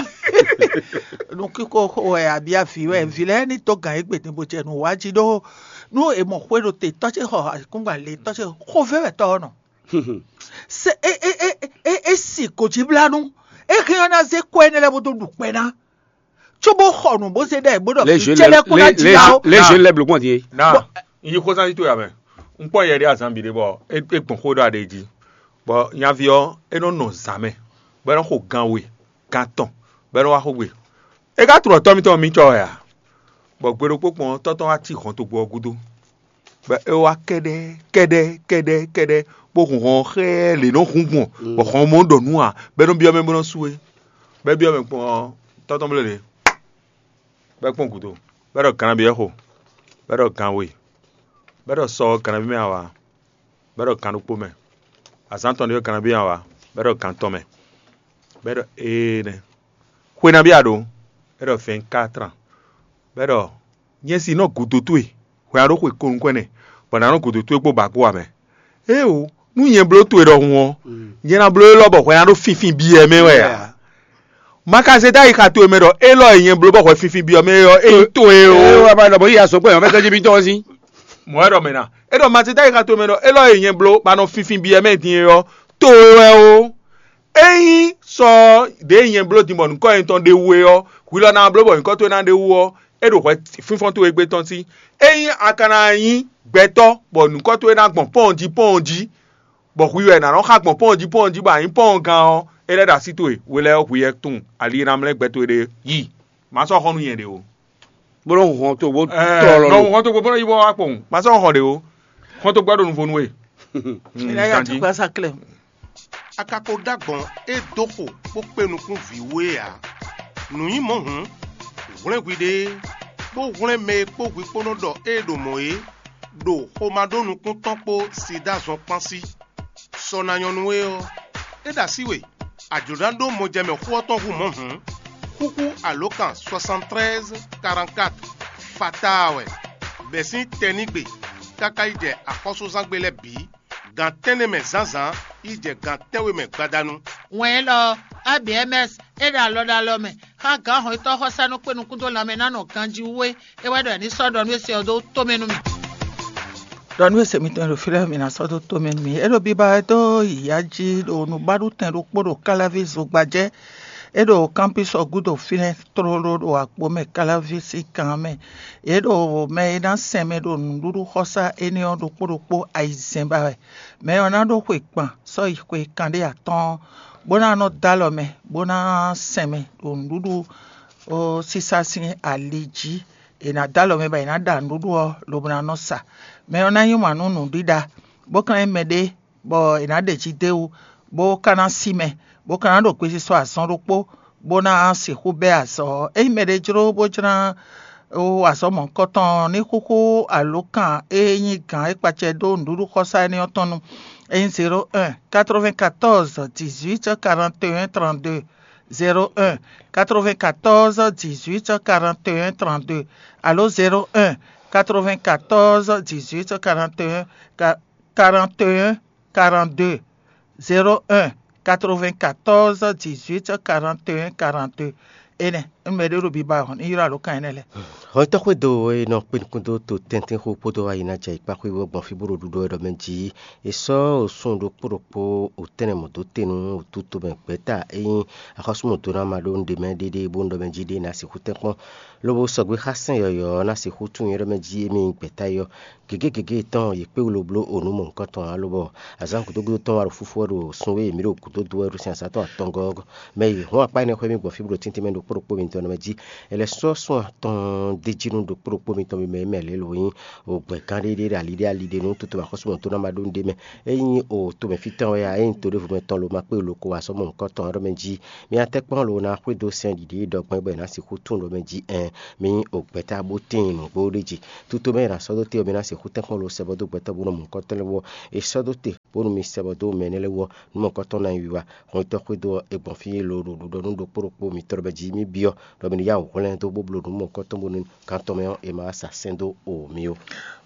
Nukúkó xó wɛ abi avi wɛ. Vi lɛ ní tó gǎn égbé ní bó jɛ nǔ wá jí ɖó nú è mɔ xwé ɖo te tɔ́ ce xɔ akúngban le tɔ́ ce xó vɛ́ wɛ tɔ́ ɔ́ nɔ. Se e e e e e si kò jí blá nú. E hɛn ɔ́ ná zé kɔ énɛ́ lɛ́ɛ bó dó ɖu kpɛ ná. Cóbó xɔ nǔ bó zé ɖɛ bó ɖɔ Les jeunes, cɛlɛ kó ná les, jǐ les, ná o. Les jeunes lɛ́ɛ bló gbɔn din é. Na, n yi xósán tító ya mɛ. Un kpɔ́n yɛ ɖé azán bǐ ɖé bɔ é é gbɔn xó ɖɔ aɖe jí. Bɔ nyaví ɔ́, é nɔ nɔ zǎn mɛ, bɔ é nɔ xo gan we, gan tɔn, bɔ é nɔ wá xó gbe. É ka tlɔ tɔ́ mitɔn mi cɔ wɛ a? Bɔ gbe ɖokpó kpɔn ɔ́, tɔ́ tɔn wá cí hɔntogbó ɔ́ gúdo. Bɔ é wá kɛ́ɖɛ́ kɛ́ɖɛ́ kɛ́ɖɛ́ kɛ́ɖɛ́, bó hun hɔn xɛ́ lě nɔ hun gbɔn, bɔ hɔn mɔ ɖɔ nú ǎ, bɔ é nɔ byɔ́ mɛ bó nɔ sú é. Bɔ é byɔ́ mɛ kpɔ́n ɔ́, tɔ́ tɔn bló lě, bɔ é kpɔ́n gǔdo, bɔ é ɖɔ gannabi ɔ́ xo, bɔ é ɖɔ gan we, bɔ é ɖɔ sɔ ɔ́ gannabi mɛ awa, bɔ é ɖɔ gan ɖokpó mɛ, azǎn tɔn ɖé ɔ́ gannabi mɛ awa, bɔ é ɖɔ gan tɔn mɛ, bɔ é ɖɔ ee nɛ́. Xwe nabí a ɖǒ? É ɖɔ vɛ̌nkátran. Bɔ é ɖɔ nyɛ si nɔ gǔdo towe, hwɛ a ɖó xwe ko nukɔn ɛnɛ, bɔ nǎ nɔ gǔdo towe kpó ba kpó ǎ mɛ. Éeǒ, nú nyɛ bló towe ɖɔhun ɔ́, nyɛ ná bló élɔ́ bɔ hwɛ ná ɖó finfin byɔ́ mɛ wɛ ǎ. Ma ka zé dó ayixa towe mɛ ɖɔ élɔ́ e nyɛ bló bɔ hwɛ finfin byɔ́ mɛ é ɔ́, é nyí towe ó. Ée wá ba ɖɔ bɔ yi azɔ̌ gbɛ ɔ́, mɛ tɔ́ jí bí tɔ́ ɔ́ sín. Mɔ̌ wɛ ɖɔ mɛ ná. É ɖɔ ma zé dó ayixa towe mɛ ɖɔ élɔ́ e nyɛ bló ba nɔ finfin byɔ́ mɛ din é ɔ́, towe wɛ ó. Ényí sɔ ɖěe nyɛ bló din bɔ nyǐkɔ nyɛ tɔn ɖ'é wú é ɔ́, hwi lɔ ná bló bɔ nyǐkɔ towe ná ɖ'é wú ɔ́, é ɖo hwɛ fínfɔ́n towe gbe tɔn sí. Ényí a ka ná nyí gbɛtɔ́ bɔ nyǐkɔ towe ná gbɔn pɔ́ɔn jí pɔ́ɔn jí, bɔ hwi wɛ nǎ nɔ xa gbɔn pɔ́ɔn jí pɔ́ɔn jí bɔ a nyǐ pɔ́ɔn gán ɔ́, é lɛ́ ɖo así towe, hwi lɛ́ɛ hwi yɛ tunwun ali e ná mlɛ́ gbɛ towe ɖe yi. Má sɔ́ xɔ nú nyɛ ɖě ó. Bó nɔ́ hun hɔn togbó tlɔlɔ nɔ lo. Hɔn togbó bó nɔ́ yi bó wá kpowun. Má sɔ́ hɔn ɖě ó. Hɔn togbó ɖo nuvo nú we. Ìlà yà ti gba sa klẹ̀. A ka ko ɖó agbɔ̌n e dó xo bó kpé nukún vǐ wú é ǎ. Nǔ nyí mɔ̌ hǔn, hwlɛ́n hwiɖée, bó hwlɛ́n mɛ e kpó hwi kpó nɔ ɖɔ ée ɖo mɔ̌ é, ɖo xomá ɖó nukún tɔn kpó Sidáa zɔn kpán sí. Sɔ ná nyɔ́ nú we ɔ́, é ɖo así we, a jlǒ ná ɖó mɔjɛmɛ xó ɔ́ tɔn hú mɔ̌ hǔn, xúxú alǒkan soixante-treize quarante-quatre fataa wɛ, bɛ̌ sín tɛnígbe káká yi jɛ axɔ́súzángbe lɛ́ɛ bǐ, gan tɛ́nnɛ mɛ zǎnzǎn yi jɛ gan tɛ́nwe mɛ gbadanu. Wɛn élɔ́ ɔ́, A B M S é ɖo alɔ ɖo alɔ mɛ xá gǎn hɔn yětɔn xɔsánú kpé nukún dó lanmɛ ná nɔ ganjí wú é, é wɛ ɖɔ è ní sɔ́ ɖɔ nú é se ɔ́ dó tomɛ nú mì. Ɖɔ nú e se mitɔn ɖo fí lɛ́ɛ, mi ná sɔ́ dó tomɛ nú mì. É ɖo biba wɛ dó yǐyá jí ɖo nǔbaɖutɛn ɖokpó ɖo Káláví zogbajɛ. É ɖo kámpísɔ gúdo fínɛ́ tlóló ɖo Agbǒmɛ Káláví sín kan ɔ́ mɛ. Yě ɖo mɛ e ná sɛn mɛ ɖo nǔɖuɖu xɔsá énɛ́ ɔ́ ɖokpó ɖokpó ayizɛ́n ba wɛ. Mɛ ɔ́ ná ɖó xwe gban sɔ́ yi xwe kanɖé atɔ́ɔ́n, bó ná nɔ dó alɔ mɛ, bó ná sɛn mɛ ɖo nǔɖuɖu sísá sín ali jí. È nǎ dó alɔ mɛ bɔ è nǎ ɖa nǔɖuɖu ɔ́ lobo ná nɔ sa. Mɛ ɔ́ ná nyí wǎn nú nǔɖiɖa, bó ka ná nyí mɛɖé bɔ è nǎ ɖe jí d'é wú, bó ka ná sí mɛ, bó ka ná ɖo gbesisɔ azɔn ɖokpó, bó ná sixú bɛ́ azɔ̌ ɔ́. Ényí mɛɖé jló bó jlá wa azɔ̌ mɔ̌hunkɔtɔn ɔ́, ní xúxú alǒkan e nyí gǎn e kpacɛ dó nǔɖuɖu xɔsá énɛ́ ɔ́ tɔn nu. É nyí zéro un quatre-vingt-quatorze dix-huit quarante et un trente-deux, zéro un quatre-vingt-quatorze dix-huit quarante et un trente-deux, alo zéro un quatre-vingt-quatorze dix-huit quarante et un quarante et un quarante-deux, zéro un quatre-vingt-quatorze dix-huit quarante et un quarante-deux. Énɛ́, un mɛ ɖé ɖo biba ɔ́, ní ylɔ́ alǒkan énɛ́ lɛ́ɛ. Hɔn tɔ́ xwédo e nɔ kpé nukún dó to tɛ́ntin xó kpódó ayi ná jɛ ikpá xwé ɔ́ gbɔn fí bó ɖo ɖuɖu wɛ ɖɔ mɛ jí. È sɔ́ osún ɖokpó ɖokpó wǒtɛ́nɛ mɔ̌ dó te nú wǔtútú mɛ gbɛ̌ta e nyí axɔ́súmɔdónáma ɖó un ɖe mɛ ɖéɖéé bó un ɖɔ mɛ jí ɖé ná sixú tɛ́nkpɔ́n, lobo sɔgbe xá sɛn yɔ̌yɔ́ ɔ́ ná sixú tunwun é ɖɔ mɛ jí émí nyí gbɛ̌ta é ɔ́. Gěgé gěgé tɔn yě kpé wú lobló o nǔ mɔ̌hunkɔtɔn ǎ, lobɔ azǎn gǔdo gúdo tɔn wá ɖo fúfú wɛ ɖo sun e mǐ ɖo gǔdo dó wɛ ɖo sin azǎn tɔn atɔngɔ́ ɔ́ mɛ yi hɔn akpá énɛ́ xwé mì gbɔn fí bó ɖo tíntín mɛ ɖo kpó ɖokpó mitɔn mɛ jí. È lɛ́ sɔ́ sun atɔn d'é jí nú ɖo kpó ɖokpó mitɔn mɛ mɛ lě lo nyí o gbɛ̌gán ɖé ɖé ɖo ali ɖé ali ɖé nú toto axɔ́súmɔdónáma ɖó un ɖé mɛ. É nyí o tomɛfí tɔn wɛ a, é nyí to ɖěvo mɛ tɔn lo ma kpé lo ko wá sɔ́ mɔ̌hunkɔtɔn ɔ́ ɖɔ mɛ jí. Mi atɛ́kpɔ́n lo ná xwedó sɛn ɖiɖi ɖɔ gbɛn bɔ è nǎ sixú tún ɖɔ mɛ jí ɛn, mi nyí o gbɛ̌ta bó tíin nǔgbó ɖé jí. Tutomɛ e nǎ sɔ́ dó te ɔ́, mi ná sixú tɛ́nkpɔ́n lo sɛ bɔ dó gbɛtɔ́ bó nɔ mɔ̌hunkɔtɔn lɛ́ɛ wú ɔ́, è sɔ́ dó te bónú mi sɛ bɔ dó mɛ énɛ́ lɛ́ɛ wú ɔ́, nǔ mɔ̌hunkɔtɔn ná nyí wiwa. Hwɛntɔ́ xwedó ɔ́, è gbɔn fí lo ɖo ɖuɖɔ nú ɖokpó ɖokpó mitɔn ɖɔ mɛ jí mì byɔ́ ɖɔ mi ní yá wǔ hwlɛ́n dó bó bló nǔ mɔ̌hunkɔtɔn bónú kan tɔn mɛ ɔ́, è ma wá sa sɛ́n dó o mì ó.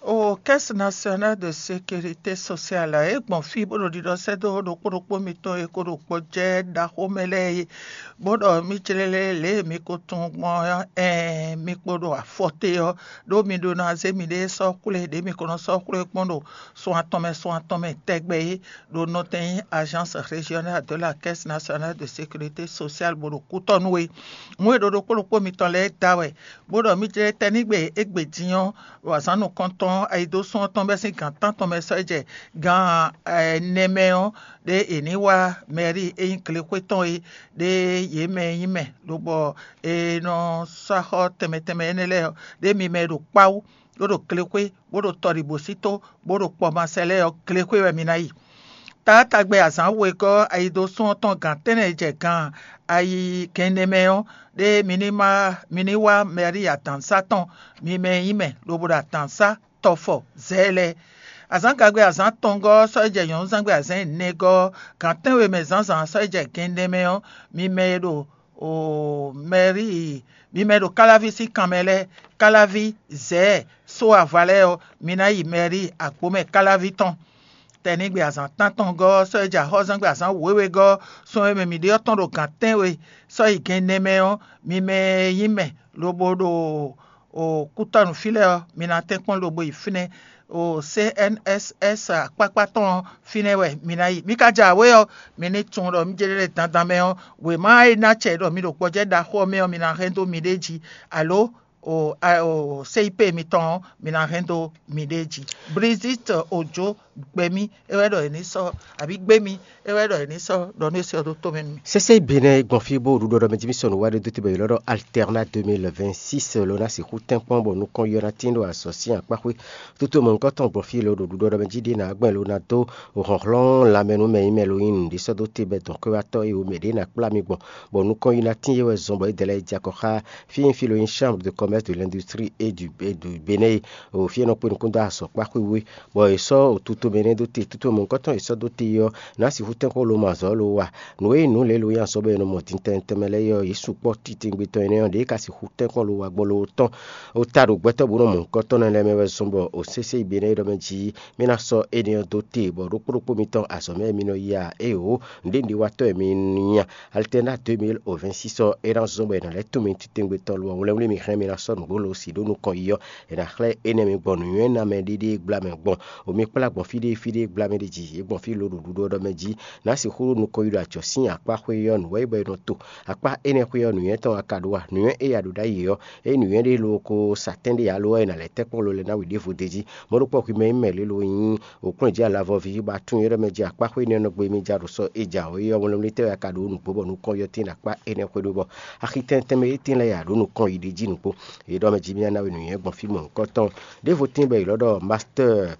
O Caisse Nationale de Sécurité Sociale ɔ́, é gbɔn fí bó ɖo ɖiɖɔ sɛ́ dó ɖokpó ɖokpó mitɔn e ko ɖo gbɔjɛ́ ɖaxó mɛ lɛ́ɛ é, bó ɖɔ mì jlɛ́ lɛ́ lě e mi ko tunwun gbɔn ɔ́, ɛɛn, mi kpo ɖo afɔ te ɔ́, ɖó mi ɖó ná zé miɖée sɔ́ xwlé ɖě mi ko nɔ sɔ́ xwlé kpɔ́n ɖo sun atɔn mɛ sun atɔn mɛ tɛgbɛ é, ɖo nɔtɛn nyí Agence Régionale de la Caisse Nationale de Sécurité Sociale bó ɖo kútɔ́ nú é. Nǔ e ɖo ɖokpó ɖokpó mitɔn lɛ́ɛ da wɛ, bó ɖɔ mì jlɛ́ tɛ́nígbe égbé din ɔ́, ɖo azǎn nukɔntɔn ayidósún ɔ́ tɔn bɛ́ sín gǎn tántɔn mɛ sɔ́ yi jɛ gan ɛnɛ mɛ ɔ́, ɖé è nǐ wá mɛ̌ri e nyí glexwé tɔn é, ɖé yě mɛ e nyí mɛ, lobɔ è nɔ sɔ́ axɔ́ tɛnmɛ tɛnmɛ énɛ́ lɛ́ɛ ɔ́, ɖé mi mɛ e ɖo kpáwú, bó ɖo glexwé, bó ɖo tɔɖigbǒsító, bó ɖo kpɔmasɛ lɛ́ɛ ɔ́, glexwé wɛ mi ná yi. Taátagbe azǎn wegɔ́ ayidósún ɔ́ tɔn gǎn tɛ́nnɛ jɛ gan ayi gɛnɖé mɛ ɔ́, ɖé mi ní má mi ní wá mɛ̌ri adǎnsá tɔn, mi mɛ e nyí mɛ, lobo ɖo adǎnsá tɔfɔ zɛ̌ lɛ́ɛ. Azǎngagbe azǎn atɔngɔ́ ɔ́ sɔ́ yi jɛ nyɔ̌nuzángbe azǎn ɛnɛgɔ́ ɔ́, gan tɛ́nwe mɛ zǎnzǎn sɔ́ yi jɛ gɛnɖé mɛ ɔ́, mi mɛ e ɖo mɛ̌ri mi mɛ e ɖo káláví sín kanmɛ lɛ́ɛ, káláví, zɛ̌, só ava lɛ́ɛ ɔ́, mi ná yi mɛ̌ri agbǒmɛ káláví tɔn. Tɛnígbe azǎn tántɔngɔ́ ɔ́ sɔ́ yi jɛ axɔ́zɛ́ngbe azǎn wěwegɔ́ ɔ́, sun e mɛ mǐ ɖe ɔ́ tɔn ɖo gǎn tɛ́nwe sɔ́ yi gɛnɖé mɛ ɔ́, mi mɛ e nyí mɛ lobo ɖo kútɔ́nu fí lɛ́ɛ ɔ́, mi ná tɛ́nkpɔ́n lobo yi fínɛ́. O C N S S akpákpá tɔn ɔ́, fínɛ́ wɛ mi ná yi. Mi ka jɛ awě ɔ́, mi ní tunwun ɖɔ mí jɛ ɖe dandan mɛ ɔ́, wěma e ná acɛ ɖɔ mi ɖo gbɔjɛ́ ɖaxó ɔ́ mɛ ɔ́, mi ná hɛn dó miɖée jí, alo o C I P mitɔn ɔ́, mi ná hɛn dó miɖée jí. Brigitte Ojo gbɛ mì, é wɛ ɖɔ è ní sɔ́, abǐ gbé mì, é wɛ ɖɔ è ní sɔ́ ɖɔ nú é sɔ́ dó tó mɛ nú mì. Sésé Benɛ gbɔn fí bó ɖuɖɔ ɖɔ mɛ jí mì sɔnù wá ɖé dó te bɔ yě lɔ́ ɖɔ Alterna deux mille vingt-six lo ná sixú tɛ́nkpɔ́n bɔ nukɔn yɔ ná tín ɖo azɔ̌ sín akpáxwé. Tutu mɔ̌hunkɔtɔn gbɔn fí lo ɖo ɖuɖɔ ɖɔ mɛ jí ɖé ná gbɛn lo ná dó hlɔ̌nhlɔ́n lanmɛ nú mɛ nyí mɛ lo nyí nǔɖé sɔ́ dó te bɛ dɔ̌nkpɛ́vátɔ́ e wǒ mɛ ɖě ná kplá mi gbɔn, bɔ nukɔn yi ná tín yě wɛ zɔn bɔ é dɛ lɛ́ɛ yi jɛ akɔ xá fí e nyí fí lo nyí Chambre de Commerce de l'Industrie et du, et du Bénin e, o fí e nɔ kpé nukún dó azɔ̌ kpáxwé wú é, bɔ è sɔ́ Tomɛ énɛ́ dó te, tutɔmɔ̌hunkɔtɔn e sɔ́ dó te ɔ́, nǎ sixú tɛ́nkpɔ́n lo mɔ azɔ̌ lo wa. Nǔ e nyí nǔ lě lo nyi azɔ̌ bɔ è nɔ mɔ din tɛnmɛ tɛnmɛ lɛ́ɛ é ɔ́, yě sukpɔ́ titewungbe tɔn énɛ́ ɔ́, ɖě ka sixú tɛ́nkpɔ́n lo wa gbɔ lo tɔn. Ó ta ɖo gbɛtɔ́ bó nɔ mɔ̌hunkɔtɔn nɛ́ lɛ́ɛ mɛ wɛ zɔ́n bɔ o sésé yi be nɛ́ é ɖɔ mɛ jí mì ná sɔ́ énɛ́ ɔ́ dó te, bɔ ɖokpó ɖokpó mitɔn azɔ̌ mɛ mi nɔ yi a? Éeǒ, nǔɖénúɖéwatɔ́ wɛ mi nyí a? Alternat deux mille vingt-six ɔ́, é ná zɔ́n bɔ è nǎ lɛ́ tunwun mi titewungbe tɔn lo ɔ́, wlɛ́nwlí mi hɛn mi ná sɔ́ nǔgbó lo si ɖó nukɔn yi ɔ́, è nǎ xlɛ́ énɛ́ mi gbɔn nǔnywɛ́ ná mɛ ɖéɖé gbla mɛ gbɔn. O mi kplá gbɔn fí ɖé fí ɖé gbla mɛ ɖé jí, yě gbɔn fí lo ɖo ɖuɖɔ ɖɔ mɛ jí, nǎ sixú ɖo nukɔn yi ɖo acɔ̌ sín akpá xwé ɔ́ nǔ wɛ yi bɔ è nɔ to. Akpá énɛ́ xwé ɔ́, nǔnywɛ́ tɔn wɛ ka ɖó a? Nǔnywɛ́ e a ɖǒ ɖ'ayǐ ɔ́, ényí nǔnywɛ́ ɖé lo ko sa tɛ́n ɖé ǎ lo ɔ́, è nǎ lɛ́ tɛ́ kpɔ́n lo lɛ́ɛ ná wǐ ɖěvo d'é jí. Mɔ̌ ɖokpó hwi mɛ nyí mɛ lě lo nyí òkplɔ́njí alavɔví bá tunwun éɖɔ́ mɛ jí akpá xwé énɛ́ nɔ gbe mì ja ɖo sɔ é ja ɔ́ é ɔ́, wlɛ́nwlí tɛ́ wɛ a ka ɖǒ nǔgbó bɔ nukɔn yɔtín ɖo akpá énɛ́ xwé ɖó bɔ axi tɛntɛn mɛ étɛn lɛ́ɛ ya ɖǒ nukɔn yi ɖ'é jí nukpó. Yě ɖɔ mɛ jí mì ná we nǔnywɛ́ gbɔn fí mɔ̌hunkɔtɔn. Ɖěvo tíin bɔ è lɔ̌ ɖɔ master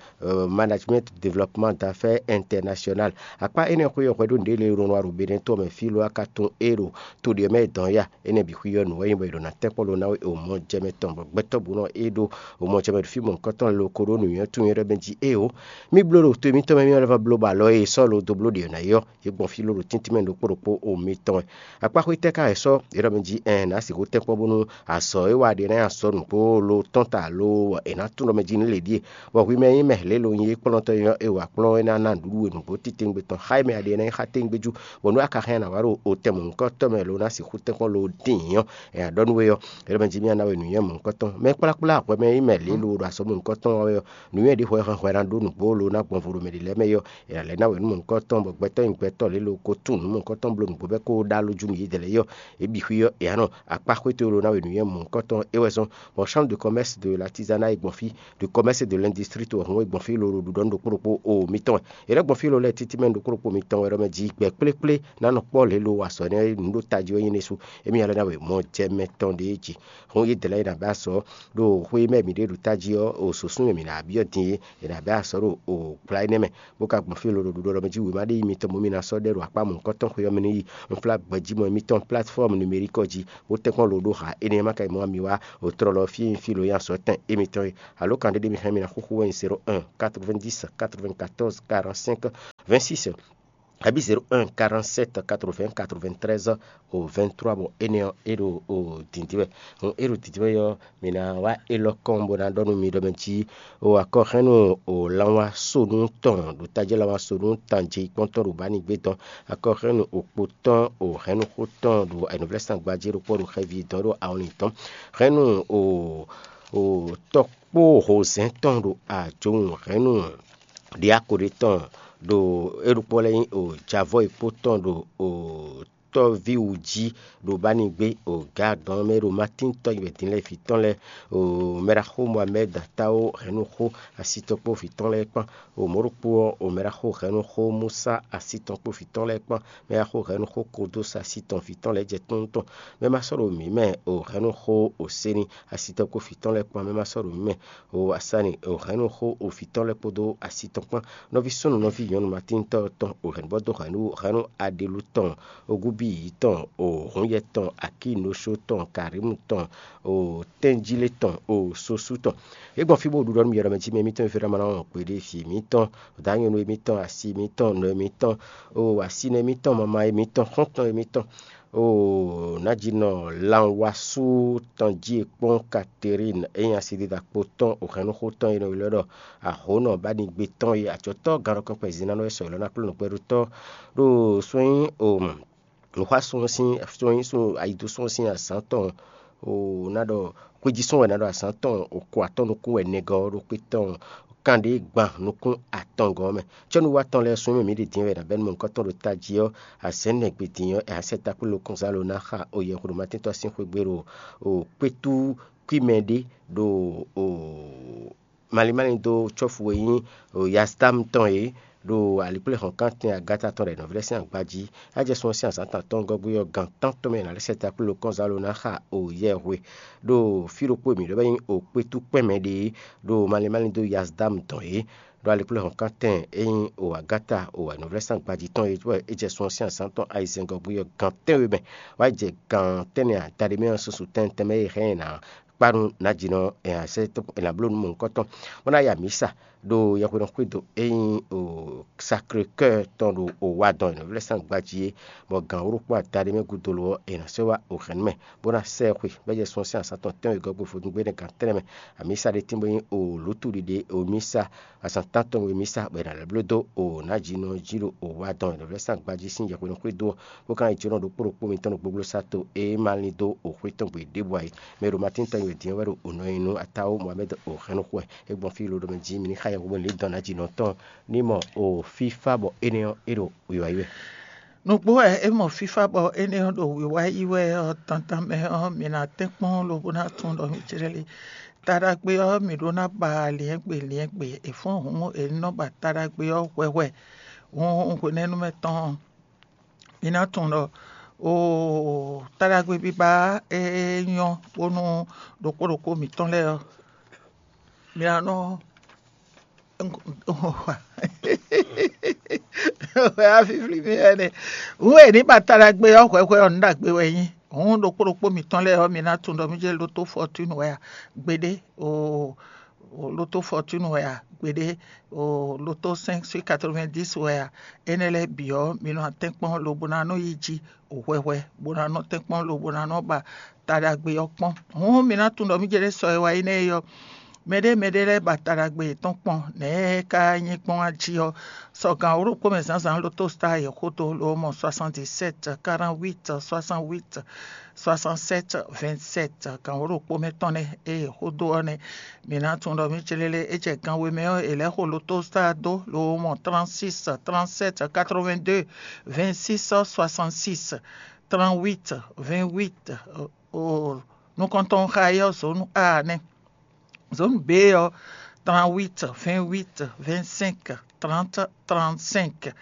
management développement d'affaires international. Akpá énɛ́ xwé ɔ́ hwɛ ɖó nǔɖé lě e ɖo nɔ wa ɖo Benɛ́ to ɔ́ mɛ fí lo a ka tunwun é ɖo to ɖě mɛ dɔn ya. Énɛ́ bǐ xwí ɔ́ nǔ wɛ nyí bɔ è ɖo ná tɛ́nkpɔ́n lo ná we o mɔ jɛmɛ tɔn bɔ gbɛtɔ́ bǔ nɔ é ɖó o mɔ jɛmɛ ɖo fí mɔ̌hunkɔtɔn lo ko ɖó nǔnywɛ́ tunwun ɖɔ mɛ jí éeǒ. Mì bló ɖo to mǐtɔn mɛ mì wɛ lɛ́ vɔ bló bɔ alɔ e sɔ́ lo dó bló ɖě ɔ́ ná é ɔ́, yě gbɔn fí ló ɖo tíntín mɛ ɖokpó ɖokpó o mitɔn wɛ. Akpá xwé tɛ́ ka wɛ sɔ́ é ɖɔ mɛ jí ɛn nǎ sixú tɛ́nkpɔ́n bónú azɔ̌ e wa ɖe ná nyi azɔ̌ nǔgbó lo tɔ́n ta lo è nǎ tunwun ɖɔ mɛ jí nú lě ɖíe, bɔ hwi mɛ nyí mɛ lě lo nyí é kplɔ́ntɔ́ é ɔ́, è wa kplɔ́n é ná ná nǔɖuɖu e nǔgbó titewungbe tɔn xá é mɛ a ɖe ná nyí xá tɛ́ngbé jú, bɔ nú a ka hɛn ná wá ɖo o tɛn mɔ̌hunkɔtɔn mɛ lo ná sixú tɛ́nkpɔ́n lo dín ɔ́, è nǎ ɖɔ nú we ɔ́, é ɖɔ mɛ jí mì ná ná we nǔnywɛ́ mɔ̌hunkɔtɔn. Mɛ kplákplá hwɛ mɛ nyí mɛ lě lo ɖo azɔ̌ mɔ̌hunkɔtɔn wɛ ɔ́, nǔnywɛ́ ɖě hwɛ hwɛ ná ɖó nǔgbó lo ná gbɔn vo ɖo mɛ ɖě lɛ́ɛ mɛ é ɔ́, è nǎ lɛ́ ná we nú mɔ̌hunkɔtɔn, bɔ gbɛtɔ́ nyi gbɛtɔ́ lě lo ko tunwun nǔ mɔ̌hunkɔtɔn bló nǔgbó bɛ́ kó ɖó alɔ jú nú yědɛɛ lɛ́ɛ é ɔ́, é bǐ xwí ɔ́, è nǎ nɔ akpá xwé towe lo ná we nǔnywɛ́ mɔ̌hunkɔtɔn é wɛ zɔ́n, bɔ chambre de commerce de l'artisanat e gbɔn fí, de commerce et de l'industrie to wɛ hɔn é gbɔn fí lo ɖo ɖuɖɔ nú ɖokpó ɖokpó o mitɔn wɛ. È lɛ́ gbɔn fí lo lɛ́ɛ títí mɛ ɖokpó ɖokpó mitɔn wɛ ɖɔ mɛ jí gbɛ kplékplé ná nɔ kpɔ́ lě lo wa azɔ̌ énɛ́ nǔ ɖó tají ɔ́ nyí nɛ́ sú. Émí nya lɛ́ ná we mɔ jɛ mɛ tɔn ɖě jí. Hɔn yědɛɛ lɛ́ɛ yi ná bɛ́ azɔ̌ ɖo xwé mɛ mǐ ɖe ɖo tají ɔ́, o sǒsún e mǐ ná byɔ́ din é, è nǎ bɛ́ azɔ̌ ɖo o gbla énɛ́ mɛ, bó ka gbɔn fí lo ɖo ɖuɖɔ ɖɔ mɛ jí wěma ɖé yi mitɔn mɔ mì ná sɔ́ ɖɛ ɖo akpá mɔ̌hunkɔtɔn xwé ɔ́ mɛ ní yi. Un flá gbɛ̌jímɔ mitɔn plateforme numérique ɔ́ jí, bó tɛ́nkpɔ́n lo ɖó ha énɛ́ ma ka yi mɔ mi wá o tlɔlɔ fí e nyí fí lo nyí azɔ̌ tɛn émitɔn é. Alo kan ɖé ɖé mi hɛn mi ná xúxú wɛ nyí zéro un quatre-vingt-dix quatre-vingt-quatorze quarante-cinq vingt-six, abǐ zéro un quarante-sept quatre-vingts quatre-vingt-treize au vingt-trois, bɔ énɛ́ ɔ́ é ɖo o dǐndín wɛ. Hɔn é ɖo dǐndín wɛ ɔ́, mǐ ná wá élɔ́ kɔn bó ná ɖɔ nú mi ɖɔ mɛ jí o akɔhɛ́nnu o lanwá sonu tɔn ɖo tají lanwá sonu tanjí kpɔ́ntɔn ɖo bǎ ní gbé dɔn. Akɔhɛ́nnu okpo tɔn o hɛ̌nnu xó tɔn ɖo ayǐnúvlɛ́sán gbají ɖokpó ɖo xɛví dɔn ɖo awɔnlin dɔn. Hɛ̌nnu o o tɔkpó hozɛ́n tɔn ɖo ajowun hɛ̌nnu ɖiáko ɖé tɔn ɖo é ɖokpó lɛ́ɛ nyí o javɔ́ e kpó tɔn ɖo o tɔ́víwú jí ɖo bá ní gbé o gǎ dɔn mɛ ɖo Matín tɔ́ yi wɛ din lɛ́ɛ vǐ tɔn lɛ́ɛ, o mɛɖaxó Mohamɛ́d Táó hɛ̌nnu xó asi tɔn kpó vǐ tɔn lɛ́ɛ kpán. O mɔ̌ ɖokpó ɔ́, o mɛɖaxó hɛ̌nnu xó Musa asi tɔn kpó vǐ tɔn lɛ́ɛ kpán. Mɛɖaxó hɛ̌nnu xó Kodos asi tɔn vǐ tɔn lɛ́ɛ jɛ tɔ́n tɔn. Mɛ ma sɔ́ ɖo mǐ mɛ o hɛ̌nnu xó o Seni asi tɔn kpó vǐ tɔn lɛ́ɛ kpán. Mɛ ma sɔ́ ɖo mǐ mɛ o Asani o hɛ̌nnu xó o vǐ tɔn lɛ́ɛ kpódó asi tɔn kpán. Nɔví súnnu nɔví nyɔ̌nu Matín tɔ́ tɔn o hɛ̌nnu bɔ dó hɛ̌nnu hɛ̌nnu Aɖelu tɔn, Ogúbíyǐ tɔn, o Hǔnyɛ tɔn, Akínoshó tɔn, Karímu tɔn, o Tɛ́njílé tɔn, o Sosú tɔn. É gbɔn fí bó ɖu ɖɔ nú mì ɖɔ mɛ jí mɛ émítɔn e fí ɖɔ ma ná wɔn kpé ɖé vǐ émítɔn, dǎnyɔ́nú émítɔn, asi émítɔn, nɔ émítɔn, o asinɔ émítɔn, mama émítɔn, xɔ́ntɔn émítɔn, o nǎjínɔ Lanwasú tɔn jí e kpɔ́n Katerín e nyí asidida kpo tɔn, o hɛ̌nnuxó tɔn e nɔ ylɔ́ ɖɔ Ahǒnɔ bá ní gbé tɔn e acɔ̌tɔ́ gannɔkɔn kpɛzínánɔ e sɔ ylɔ́ ná kplɔ́n nǔgbɛ́ɖótɔ́ ɖo sɔ́ nyí o nǔxwásún ɔ́ sín sɔ́ nyí sɔ́ ayidosɔ́ ɔ́ sín azǎn tɔn o ná ɖɔ xwéjísɔ́n wɛ ná ɖɔ azǎn tɔn o ko atɔ́ nukún wɛ nɛgɔ́ ɔ́ ɖo xwé tɔn kanɖé gban nukún atɔngɔ́ ɔ́ mɛ. Cɔ́nuwa tɔn lɛ́ɛ sɔ́ mì ɖi din wɛ è nǎ bɛ́ nú mɔ̌hunkɔtɔn ɖo tají ɔ́, azɛ̌ nɛgbé din ɔ́, è nǎ sɛ takplélo kɔnzá lo ná xa o yɛhweɖomatíntɔ́ sín xwé gbe ɖo o kpétú kwímɛ ɖé ɖo o malín málín dó cɔ́fu e nyí Yasdam tɔn é ɖo alikpléhɔ̌nkántɛn Agata tɔn ɖo nɔví lɛ́ɛ sín agba jí. Á jɛ sun ɔ́ sín azǎn tɔn gɔ́gbé ɔ́, gan tántɔn mɛ è nǎ lɛ́ sɛ takplélo kɔnzá lo ná xa o yɛhwe ɖo fí ɖokpó e mǐ ɖɔ bɔ é nyí o kpétú kpɛ́n mɛ ɖe é ɖo malín málín dó Yasdam tɔn é ɖo alikpléhɔ̌nkántɛn e nyí o Agata o nɔví lɛ́ɛ sín agba jí tɔn é wɛ é jɛ sun ɔ́ sín azǎn tɔn ayizɛ́n gɔ́gbé ɔ́ gan tɛ́nwe mɛ. Wá jɛ gan tɛ́nnɛ adaɖé mɛ ɔ́, susu tɛntɛn mɛ e hɛn ɛ ná kpanu nǎjínɔ è nǎ sɛ́ è nǎ bló nú mɔ̌hunkɔtɔn, bó ná ya mǐsa ɖo yɛhweɖɔxwído e nyí Sacré-Cœur tɔn ɖo Owadɔn e nɔ vlɛ́ sín agbají é, bɔ gǎn wǒ ɖokpó adaɖé mɛ gúdo lo ɔ́, è nǎ sɛ́ wá ohɛ̌nnu mɛ, bó ná sɛ́ ɛ xwe, bɔ é jɛ sun ɔ́ sín azǎn tɔn tɛ́nwe gɔ́ gbe vodúngbe énɛ́ gan tɛ́nnɛ mɛ. Amǐsa ɖé tín bó nyí lǒtúɖiɖe omísa azǎn tántɔn e mǐsa bɔ è nǎ lɛ́ bló dó nǎjínɔ jí ɖo Owadɔn e nɔ vlɛ́ sín agbají sín yɛhweɖɔxwído ɔ́, bó ka nyí jǒnɔ ɖokpó ɖokpó mitɔn ɖo gbogblo sa to e ma lin dó xwé tɔn gbe ɖěbǔ ǎ é. Mɛ e ɖo Matín tɔn nyi wɛ din ɔ́ wɛ ɖo nɔ nyi nú Atáwú Mohamɛ́d Ohɛ́nnu xwɛ. É gbɔn fí lodome jí mi ní xa yɛhweɖɔ lǐndɔ̌n ná ji nɔ tɔn ní mɔ o fífá bɔ énɛ́ ɔ́ é ɖo wiwa yi wɛ. Nǔgbó wɛ é mɔ fífá bɔ énɛ́ ɔ́ ɖo wiwa yi wɛ ɔ́, tantan mɛ ɔ́, mi ná tɛ́nkpɔ́n lobo ná tunwun ɖɔ mì jlɛ́ lé. Taɖagbe ɔ́, mǐ ɖó ná ba lyɛ̌ngbe lyɛ̌ngbe; è fɔ́n hǔn è nɔ ba taɖagbe ɔ́ hwɛhwɛ. Hǔn hwenɛ́nu mɛ tɔn ɔ́, mi ná tunwun ɖɔ oo taɖagbe biba e nyɔ́ bónú ɖokpó ɖokpó mǐtɔn lɛ́ɛ ɔ́, mi ná nɔ wɛ afífli mì wɛ nɛ. Hǔn e ní ba taɖagbe ɔ́ hwɛhwɛ ɔ́, nǔ ɖagbe wɛ nyí. Hǔn ɖokpó ɖokpó mǐtɔn lɛ́ɛ ɔ́, mi ná tunwun ɖɔ mì jɛ lótó fɔtúnu wɛ a? Gbeɖé oo, lótó fɔtúnu wɛ a? Gbeɖé oo, lótó cinq sur quatre-vingt-dix wɛ a? Énɛ́ lɛ́ɛ bǐ ɔ́, mi nɔ atɛ́nkpɔ́n lobo ná nɔ yi jí hwɛhwɛ, bó ná nɔ tɛ́nkpɔ́n lobo ná nɔ ba taɖagbe ɔ́ kpɔ́n. Hǔn mi ná tunwun ɖɔ mì jɛ ɖě sɔ e wá yi nɛ́ é ɔ́, mɛɖé mɛɖé lɛ́ɛ ba taɖagbe yětɔn kpɔ́n. Nɛ̌ é ka nyí gbɔn a jí ɔ́, sɔ gǎn wǒ ɖokpó mɛ zǎnzǎn lótó sta yě xódó ló mɔ soixante-dix-sept, quarante-huit, soixante-huit, soixante-sept, vingt-sept, gǎn wǒ ɖokpó mɛ tɔn nɛ́ e yě xódó ɔ́ nɛ́. Mi ná tunwun ɖɔ mì célélé é jɛ gan we mɛ ɔ́, è lɛ́ xo lótó sta dó ló mɔ trente-six, trente-sept, quatre-vingt-deux, vingt-six, soixante-six, trente-huit, vingt-huit, nukɔntɔn xa é ɔ́ zǒnu A nɛ́. Zǒnu B ɔ́, trente-huit, vingt-huit, vingt-cinq, trente, trente-cinq.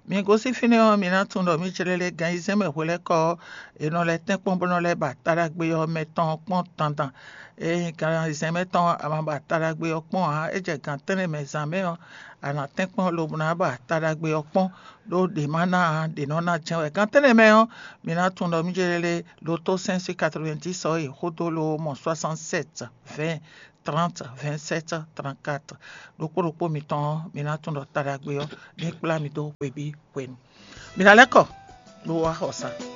Mi gosín fínɛ́ ɔ́, mi ná tunwun ɖɔ mì célélé gan ayizɛ́n mɛ hwelɛ́kɔ ɔ́, è nɔ lɛ́ tɛ́nkpɔ́n bó nɔ lɛ́ ba taɖagbe ɔ́ mɛ tɔn ɔ́ kpɔ́n dandan. Ényí gan ayizɛ́n mɛ tɔn a ma ba taɖagbe ɔ́ kpɔ́n ǎ, é jɛ gan tɛ́nnɛ mɛ zǎn mɛ ɔ́, a nǎ tɛ́nkpɔ́n lobo ná ba taɖagbe ɔ́ kpɔ́n, ɖó ɖě ma ná ǎ, ɖě nɔ ná jɛ́n wɛ. Gan tɛ́nnɛ mɛ ɔ́, mi ná tunwun ɖɔ mì célélé lótó cinq sur quatre-vingt-dix ɔ́ yi xódó ló mɔ soixante-sept, vingt, trente, vingt-sept, trente-quatre. Ɖokpó ɖokpó mitɔn ɔ́, mi ná tunwun ɖɔ taɖagbe ɔ́ ní kplá mi dó hwebǐ hwenu. Mi ná lɛ́ kɔ bó wá xɔ sa.